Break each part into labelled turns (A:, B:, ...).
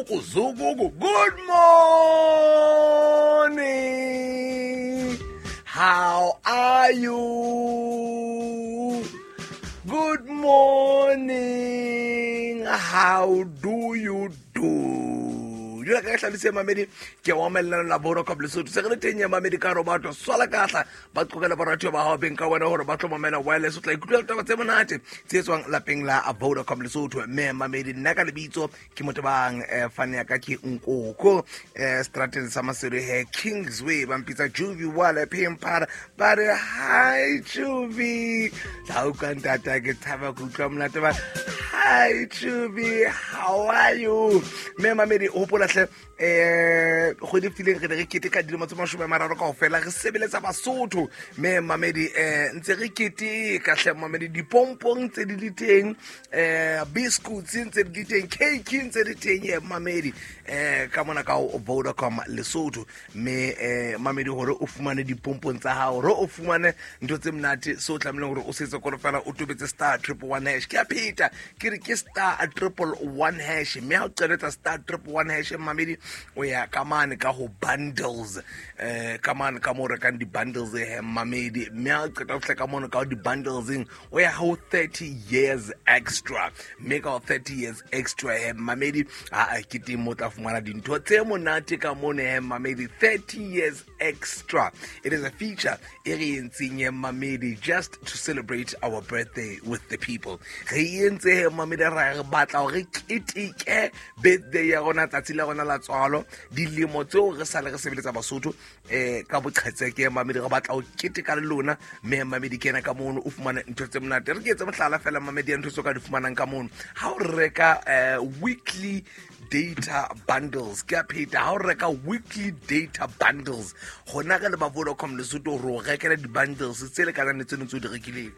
A: Zukuku, zukuku. Good morning. How are you? Good morning. How do you do? Jula ka hlalise mamedi ke wa mellano la Vodacom Lesotho se re le teng ya mamedi ka robato swala kahla ba qokela baratuwa ba hao beng ka wena hore ba tlo mamela wireless o tla ikutlwa ditaba tse monate tse tswang lapeng la Vodacom Lesotho. Mme mamedi, nna ka lebitso ke motho bang, fane ya ka ke Nkoko, strateng sa Maseru he Kingsway, ba mpitsa Juvi wa lapeng phara ba re hi Juvi. Tla utlwa ntata ke thaba ke utlwa monate ba hi Juvi, how are you? Mme mamedi, hopola hle, kgwedi e fetileng re ne re keteka dilemo tse 30 kaofela re sebeletsa Basotho. Mme mamedi, ntse re keteka hle mamedi, dipompong tse di le teng, biscuits ntse di le teng, cake ntse di teng ye mamedi, ka mona ka ho Vodacom Lesotho. Mme mamedi, hore o fumane dipompong tsa hao, hore o fumane ntho tse monate, se o tlamehileng hore o setse kore fela o tobetse star triple one hash. Ke a pheta ke re ke star triple one hash, mme ha o qeletsa star triple one hash mamedi, o ya ka mane ka ho bundles, ka mane ka mo rekang di-bundles he mamedi. Mme ha o qeta ho fihla ka mono ka ho di-bundleseng, o ya ho 30 years extra, mme ka ho 30 years extra he mamedi, a ke teng mo tla fumana dintho tse monate ka mono he mamedi. 30 years extra, it is a feature e re entseng he mamedi, just to celebrate our birthday with the people. Re entse he mamedi, ra re batla hore keteke birthday ya rona, tsatsi la rona la tswalo, dilemo tseo re sale re sebeletsa Basotho ka boqhetseke mamedi, re batla ho keteka le lona. Mme mamedi, kena ka mono o fumane ntho tse monate. Re ke etse mohlala fela mamedi ya ntho tseo ka di fumanang ka mono ha o reka weekly data bundles. Ke a pheta, ha o reka weekly data bundles, gona re le ba Vodacom Lesotho re o rekela di-bundles tse lekanang le tseno tse o di rekileng.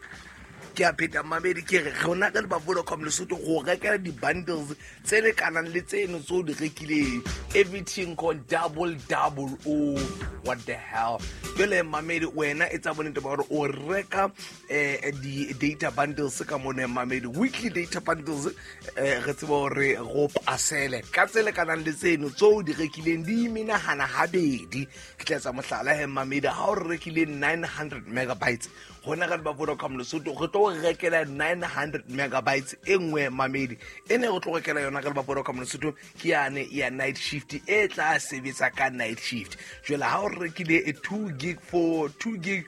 A: Ke a pheta mamedi, ke re rona re le ba Vodacom Lesotho go rekela di-bundles tse lekanang le tseno tse o di rekileng. Everything called double double. Oh, what the hell. Jwale mamedi, wena e tsa bonnete ba gore o reka di-data bundles ka mone mamedi, weekly data bundles, re tseba gore go pasele ka tse lekanang le tseno tse o di rekileng, di menahana habedi. Ke tla etsa mohlala he mamedi, ha o rekile 900 megabytes, gona re le ba Vodacom Lesotho re tlo rekela 900 megabytes e nngwe mamedi. E ne re tlo rekela yona re le ba Vodacom Lesotho ke yane ya night shift, e tla sebetsa ka night shift. Jwale ha o rekile e 2 gig for 2 gig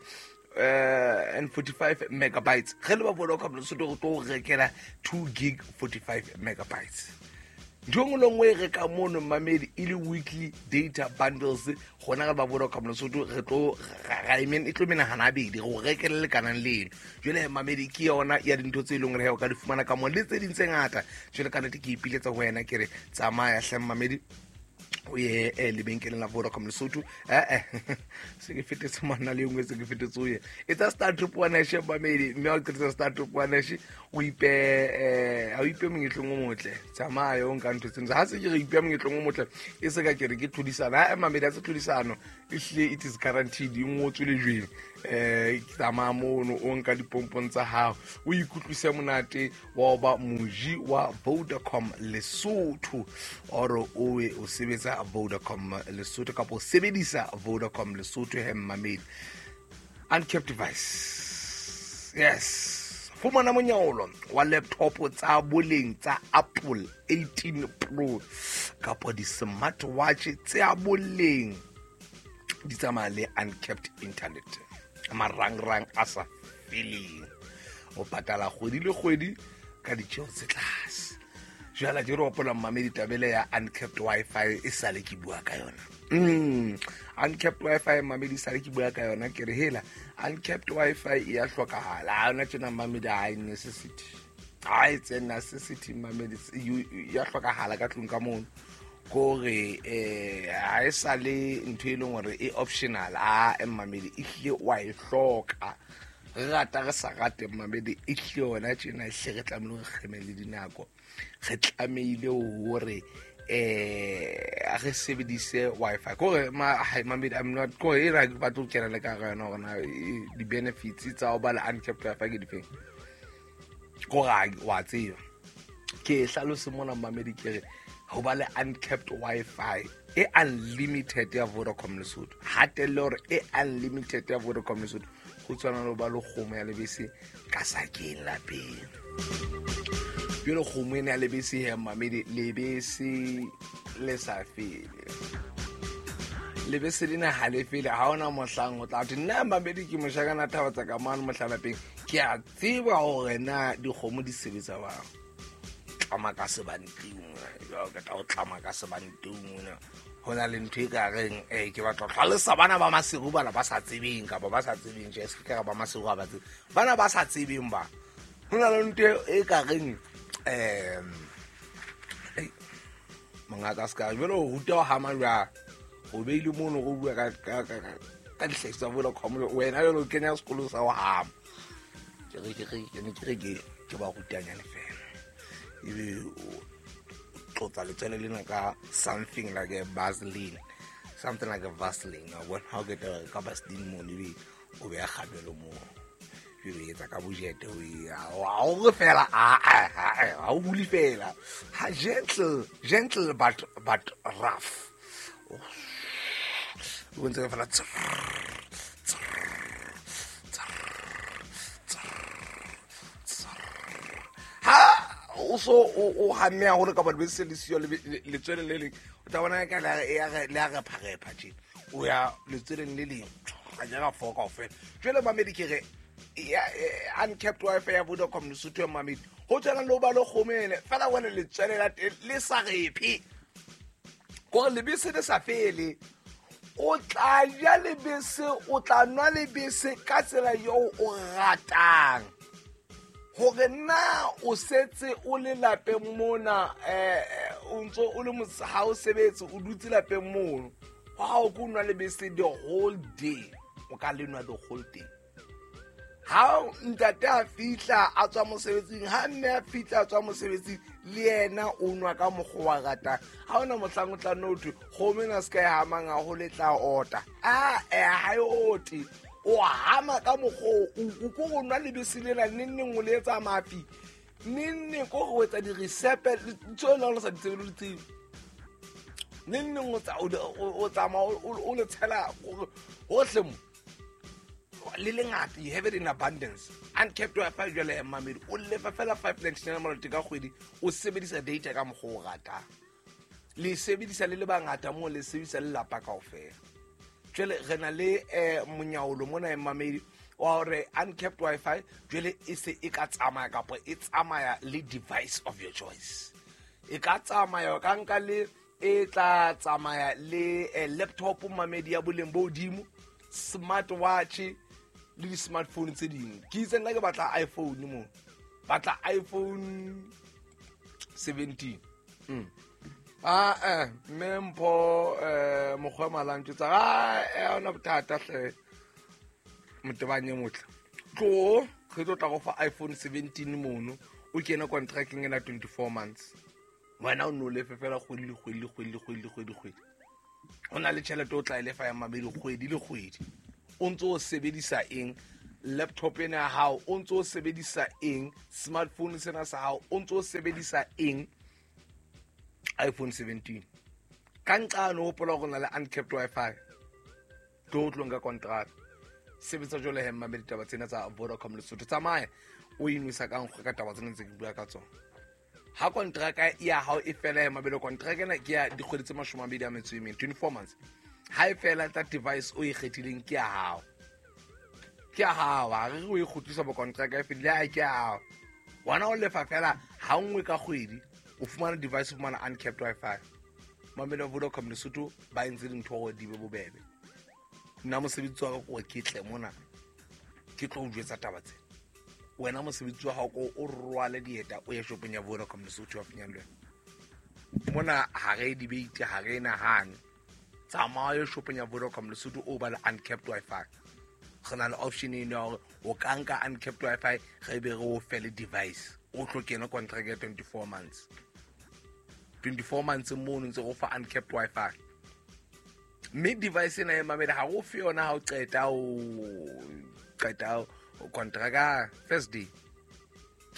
A: and 45 megabytes, re le ba Vodacom Lesotho re tlo rekela 2 gig 45 megabytes. Ntho e nngwe le nngwe e reka mono mamedi e le weekly data bundles, gona re ba Vodacom Lesotho re tlo e tlo menahana habedi go rekele lekanang leno. Jwale mamedi, ke yona ya dintho tse e leng hore o ka di fumana ka moo le tse ding tse ngata. Jwale ka nnete ke ipiletsa ho wena, ke re tsamaya hle mamedi, o ye lebenkeleng la Vodacom Lesotho. Se ke fetetse monna le engwe, se ke fetetse o ye etsa star triple one hash mamedi. Mme ha o qetetse star triple one hash, o ipe ha o ipe monyetleng o motle, tsamaya o nka ntho tseno. Ha se ke re ipe monyetleng o motle, e se ka ke re ke tlhodisano. Ha mamedi, ha se tlhodisano, ehlile it is guaranteed, e ngotswe lejweng. Tsamaya mono o nka dipompong tsa hao, o ikutlwise monate wa ho ba moji wa Vodacom Lesotho, or o e o sebetsa Vodacom Lesotho kapa o sebedisa Vodacom Lesotho he mamedi. Uncapped device, yes, fumana monyaolo wa laptop tsa boleng tsa Apple 18 Pro kapa di-smartwatch tsa boleng, di tsamaya le uncapped internet, marangrang a sa feleng, o patala kgwedi le kgwedi ka ditjeo tse tlase. Jwale ke re hopola mamedi tabele ya uncapped wifi e sale ke bua ka yona. Uncapped wifi mamedi, sale ke bua ka yona, ke re hela uncapped wifi e ya hlokahala. Ha yona tjena mamedi, ha e necessity, ha e tse necessity mamedi, ya hlokahala ka tlung ka mono. Kore ha e sale ntho e leng hore e optional, a mamedi e hlile wa e hloka. Re rata re sa rate mamedi, e hlile yona tjena e hle re tlamehile re kgeme le dinako, re tlamehile hore re sebedise wifi. Kore mamedi, I'm not kore e ra ke batla ho kena le ka hara yona hore na di-benefits tsa ho ba le uncapped wifi ke difeng. Kore wa tseba ke hlalose mona mamedi, ke re Ho ba le uncapped Wi-Fi e unlimited ya Vodacom Lesotho, hatelle hore e unlimited ya Vodacom Lesotho, go tshwana le ho ba le kgomo ya lebese ka sakeng lapeng. Jalo kgomo ena ya lebese he mamedi, lebese le sa fele, lebese lena ha le fele, ha ona mohlang o tla thwe nna mamedi ke moshakana thaba tsa ka mane mohlalapeng, ke a tseba hore na dikgomo di sebetsa bang. Tlama ka sebanting, ke tla o tlama ka sebanting mona. Ho na le ntho e ka reng ke batla ho hlalosa bana ba Maseru, bana ba sa tsebeng kapa ba sa tsebeng, tje se ka ba Maseru ha ba tsebe, bana ba sa tsebeng ba. Ho na le ntho e ka reng mongaka se ka jwale o ruta ho hama jwang, o beile mono go bua ka dihlahiswa tsa Vodacom, wena jwale o kenya sekolo sa ho hama. Ke re ke re ke ne ke re ke ba rutanyane fela, ebe o tlotsa letswele lena ka something like a Vaseline, something like a Vaseline, wa bona. Ha o qeta ka Vaseline mono, ebe o beha kgabelo moo, ebe o etsa ka bojete, o ha o re fela, ha o hule fela, ha gentle, gentle but rough, o bontse fela ha o so o hamme haholo ka batho bese le siyo letswele le leng, o tla bona ka le a repharepha tje, o ya letsweleng le leng a jara four kaofela. Jwale mamedi ke re uncapped Wi-Fi ya Vodacom Lesotho ya mamedi, ho tshwana le ho ba le kgomo ene fela wena letswele la teng le sa rephe, kore lebese le sa fele, o tla ja lebese, o tla nwa lebese ka tsela eo o ratang. Hore na o setse o le lapeng mona, o ntso o le ha o sebetse, o dutse lapeng mono, ha o ko nwa lebese the whole day, o ka le nwa the whole day. Ha ntate a fihla a tswa mosebetsing, ha mme a fihla a tswa mosebetsing, le yena o nwa ka mokgwa wa ratang. Ha ona mohlang o tla nno thwe kgomo ena se ka e hamang haholo, e tla ota. Ha e ote, o hama ka mokgwa o ko go nwa lebese lena neng neng o le etsa mafi, neng neng ko go etsa di-recipe ntho e leng o sa di tsebe le di tsebe, neng neng o tsamaya o le tshela hohle mo le lengata, you have it in abundance. Uncapped Wi-Fi jwale mamedi, o lefa fela 599 maloti ka kgwedi, o sebedisa data ka mokgwa o ratang, le sebedisa le le bangata moo, le sebedisa le lapa kaofela. Jwale re na le monyaolo mona mamedi wa hore uncapped Wi-Fi jwale e se e ka tsamaya kapa e tsamaya le device of your choice, e ka tsamaya ka nka le e tla tsamaya le laptop mamedi ya boleng bo hodimo, smartwatch le di-smartphone tse ding. Ke itse nna ke batla iPhone mo, batla iPhone 17. Mme Mpho mokgwa malantso tsa ga ona bothata hle, motebanye motle tlo re tlo tla go fa iPhone 17 mono, o kene contracting ena 24 months, wena o no lefe fela kgwedi le kgwedi le kgwedi le kgwedi le kgwedi kgwedi, o na le tjhelete o tla e lefa ya mabedi kgwedi le kgwedi, o ntso o sebedisa eng laptop ena ya hao, o ntso o sebedisa eng smartphone sena sa hao, o ntso o sebedisa eng iPhone 17. Ka nqane o hopola hore na le uncapped Wi-Fi, tlo tlo nka contract, sebetsa jwale he mamedi taba tsena tsa Vodacom Lesotho, tsamaya o inwesa ka nkgo ka taba tsena tse ke bua ka tsona. Ha kontraka ya hao e fela ya mabelo, kontraka ena ke ya dikgwedi tse 24, 24 months, ha e fela tsa device o e kgethileng ke ya hao, ke ya hao, ha re o e kgutlisa bo kontraka e fedile, ha ke ya hao, wena o lefa fela ha nngwe ka kgwedi, o fumana device, o fumana uncapped Wi-Fi. Mamedi wa Vodacom Lesotho ba entse dintho hore di be bobebe. Nna mosebetsi wa ka ke hore ke tle mona ke tlo o jwetsa taba tsena, wena mosebetsi wa hao ko o rwale dieta o ye shopong ya Vodacom Lesotho wa finyang le wena mona, ha re debate, ha re nahane, tsamaya shopong ya Vodacom Lesotho o ba le uncapped Wi-Fi. Re na le option eno ya hore o ka nka uncapped Wi-Fi, re be re o fe le device, o tlo kena contract ya 24 months, 24 months mono ntse go fa uncapped Wi-Fi, mme device ena e mamedi ha o fe yona ha o qeta o contract first day,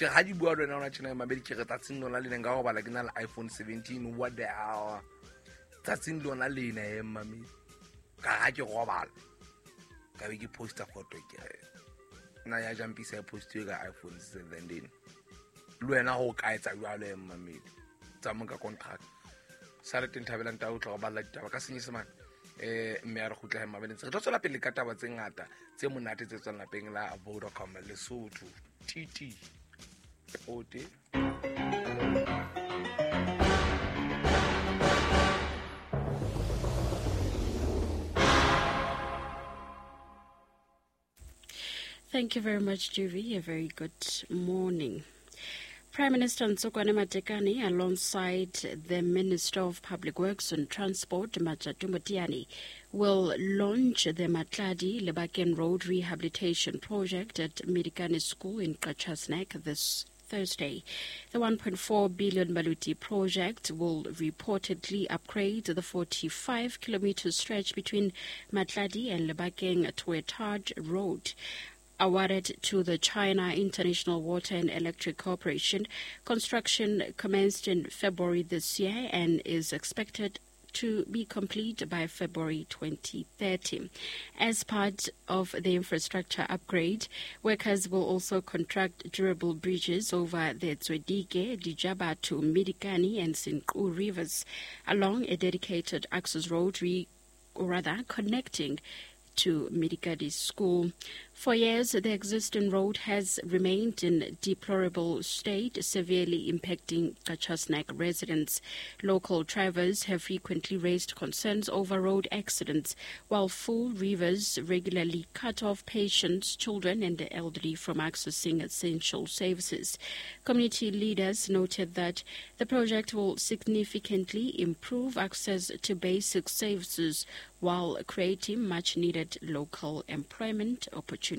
A: Ke re ha di bua le wena hona tjena mamedi, ke re tsatsing lona lena nka robala ke na le iPhone 17, what the hell, tsatsing lona lena e mamedi, ka ha ke robala ka be ke posta photo, ke re nna ya jampisa e postiwe ka iPhone 17. Le wena ho ka etsa jwalo e mamedi, tsa mo ka contract sa le teng. Thabelang taba o tla go balla ditaba ka Senyesemane, mme a re kgutla mamedi, re tlo tswela pele ka taba tse ngata tse monate tse tswang lapeng la Vodacom Lesotho. Titi pote.
B: Thank you very much, Juvi. A very good morning. Prime Minister Ntsokoane Matekane, alongside the Minister of Public Works and Transport, Matjato Moteane, will launch the Matladi Lebakeng Road Rehabilitation Project at Medikane School in Qacha's Nek this Thursday. The 1.4 billion Maluti project will reportedly upgrade the 45-kilometer stretch between Matladi and Lebakeng to a tarred road. Awarded to the China International Water and Electric Corporation, construction commenced in February this year and is expected to be complete by February 2030. As part of the infrastructure upgrade, workers will also construct durable bridges over the Tswedike, Dijabatu, Midikani and Senqu rivers along a dedicated access road, connecting to Midikadi School. For years, the existing road has remained in deplorable state, severely impacting Qacha's Nek residents. Local drivers have frequently raised concerns over road accidents, while full rivers regularly cut off patients, children and the elderly from accessing essential services. Community leaders noted that the project will significantly improve access to basic services while creating much-needed local employment opportunities.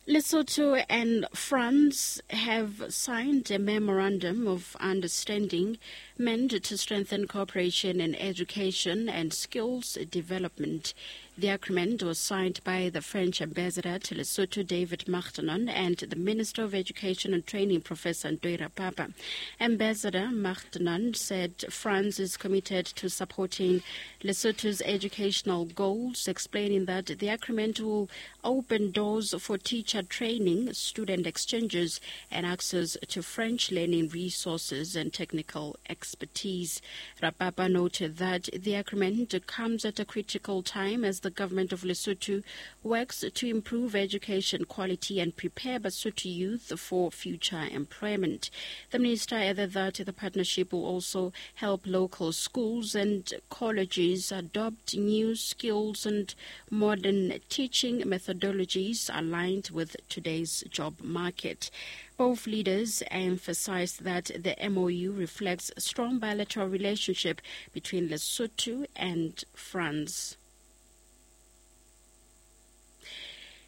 B: Lesotho and France have signed a memorandum of understanding meant to strengthen cooperation in education and skills development. The agreement was signed by the French ambassador to Lesotho, David Martenon, and the Minister of Education and Training, Professor Ntoi Rapapa. Ambassador Martenon said France is committed to supporting Lesotho's educational goals, explaining that the agreement will open doors for teacher training, student exchanges, and access to French learning resources and technical expertise. Rapapa noted that the agreement comes at a critical time as the government of Lesotho works to improve education quality and prepare Basotho youth for future employment. The minister added that the partnership will also help local schools and colleges adopt new skills and modern teaching methodologies aligned with today's job market. Both leaders emphasized that the MOU reflects a strong bilateral relationship between Lesotho and France.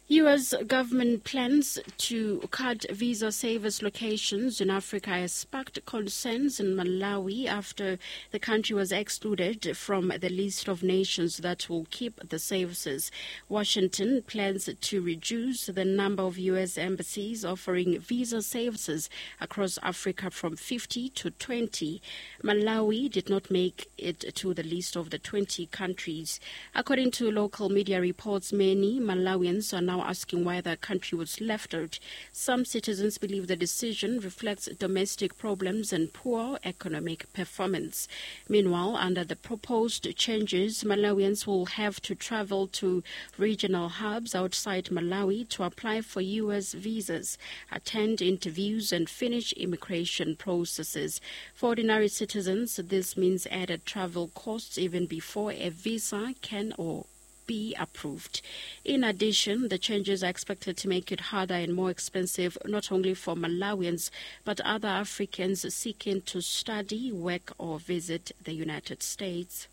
B: U.S. government plans to cut visa service locations in Africa has sparked concerns in Malawi after the country was excluded from the list of nations that will keep the services. Washington plans to reduce the number of U.S. embassies offering visa services across Africa from 50 to 20. Malawi did not make it to the list of the 20 countries. According to local media reports, many Malawians are now asking why the country was left out. Some citizens believe the decision reflects domestic problems and poor economic performance. Meanwhile, under the proposed changes, Malawians will have to travel to regional hubs outside Malawi to apply for U.S. visas, attend interviews, and finish immigration processes. For ordinary citizens, this means added travel costs even before a visa can or be approved. In addition, the changes are expected to make it harder and more expensive not only for Malawians but other Africans seeking to study, work or visit the United States.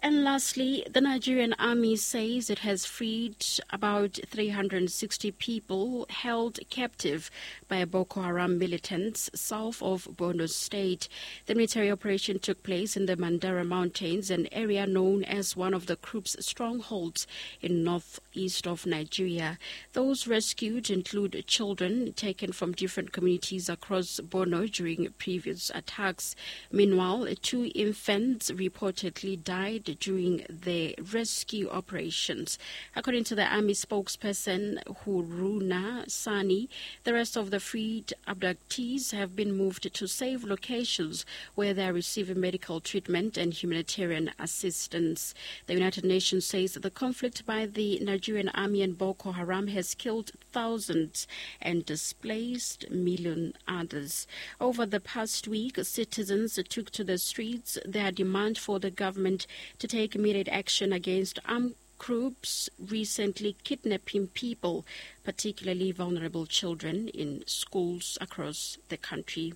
B: And lastly, the Nigerian army says it has freed about 360 people held captive by Boko Haram militants south of Borno State. The military operation took place in the Mandara Mountains, an area known as one of the group's strongholds in northeast of Nigeria. Those rescued include children taken from different communities across Borno during previous attacks. Meanwhile, 2 infants reportedly died during the rescue operations. According to the army spokesperson Haruna Sani, the rest of the freed abductees have been moved to safe locations where they are receiving medical treatment and humanitarian assistance. The United Nations says that the conflict by the Nigerian army and Boko Haram has killed thousands and displaced million others. Over the past week, citizens took to the streets their demand for the government to take immediate action against armed groups recently kidnapping people, particularly vulnerable children in schools across the country.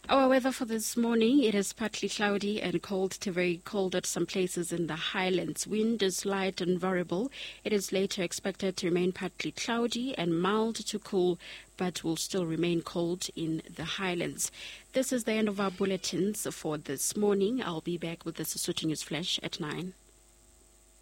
B: Our weather for this morning, it is partly cloudy and cold to very cold at some places in the highlands. Wind is light and variable. It is later expected to remain partly cloudy and mild to cool, but will still remain cold in the highlands. This is the end of our bulletins for this morning. I'll be back with the Sesotho News Flash at 9.